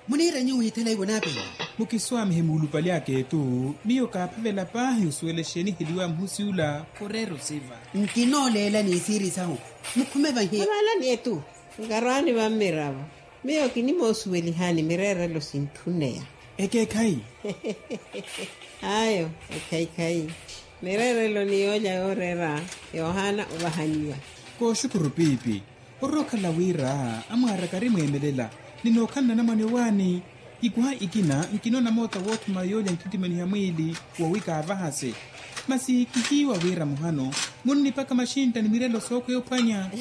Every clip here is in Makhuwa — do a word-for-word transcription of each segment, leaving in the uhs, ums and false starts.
Muniira nyuwo withela ivo naapini. Mukiswaamihe muulupali aka etu. Miyo kaaphavela paahi osuwela exeeni eheliwa muhusi ula. Khureera osiva. Nkinooleela ni siiri sahu. Mukhume vahi. Avalani etu. Nkarwaani vammiravo. Miyo kinimoosuwelihani mireerelo sintthuneya. Ekeekhayi. Ayo. Ekhayikhayi. Mireerelo ni yoolya yooreera. Yohana ovahaniwa. Kooxukuru piipi. Ororokhala wira amwaaraka arimweemelela. Ninookhala nanamwane owaani. Ikuha ikina nkinoona moota woothuma yoolya nttittimaniha mwiili. Wowi kaavahase. Masi kihiiwa wira muhano munnipaka maxintta ni mirelo sookhweya ophwanya.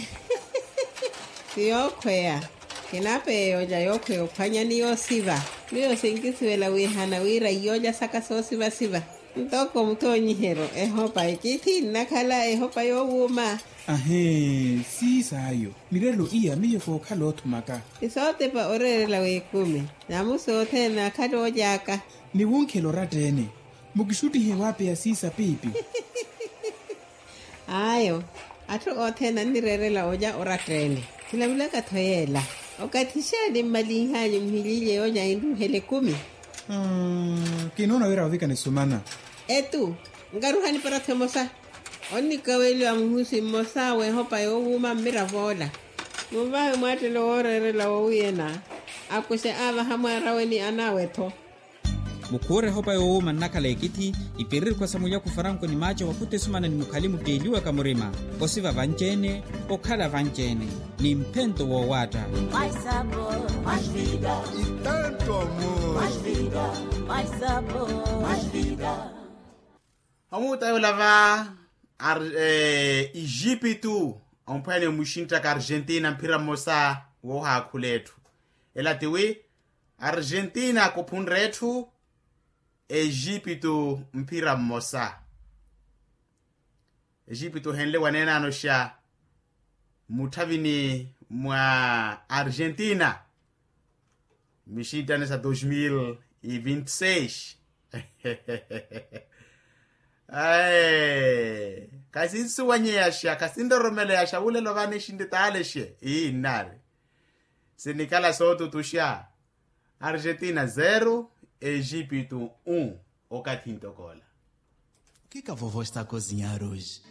Ti yookhweya. Kinapeya yoolya yookhweya ophwanya ni yoosiva. Miyo sinkisuwela wiihana wira iyoolya saka soosivasiva. Ntoko muthoonyiheryo ehopa ekithi nnakhala ehopa yoowuuma. Ahee. Siisaayo. Mirelo iya miyo kookhala oothumaka. Isootepa oreerela w'ekumi. Namusi othene akhala ooly'aka. Ni wunkhela oratta-ene. Mukixuttihe waapeya siisa piipi. Ayo. Atthu othene annireerela olya oratta-ene. Khilavilaka-tho yeela. Okathi xeeni mmalinh'anyu muhilyiilye yoolya inruuhela ekumi. Kinoona wira ovika nisumana. Etu. Nkaruha niparathi emosa. Onnikaweliwa muhusi mmosa w'ehopa yoowuuma mmirav'ola. Munvahe mwaattelo wooreerela woowiyena. Akuxe aavaha mwaarawe ni anaawe-tho. Mukhuure ehopa yoowuuma nnakhala ekithi. Ipiririkhwa sa mulyaku faranko ni maaca wakhuta esumana ni mukhali mutteeliwaka murima. Osiva vanci-ene. Okhala vanci-ene. Ni mphento woowaatta. Itanto amor. Omuuta yoola va. Ijipitu. Omphwene muxinttaka argentina mphira mmosa. Woohaakhula etthu. Ela tiwi. Argentina kuphunre etthu. Ejipitu mphira mmosa. Ejipitu ohenle waneenanoxa. Mutthavini mwa argentina. Mixinttane sa dos mil e vinte seis. Ae. Khasinsuwanyeyaxa khasinroromeleyaxa wulelo vano exintte taalexe ii nnaari. Sinikhala sootutuxa. Argentina zero. Ejipitu un. Okathi ntokoola. O que que a vovó está a cozinhar hoje?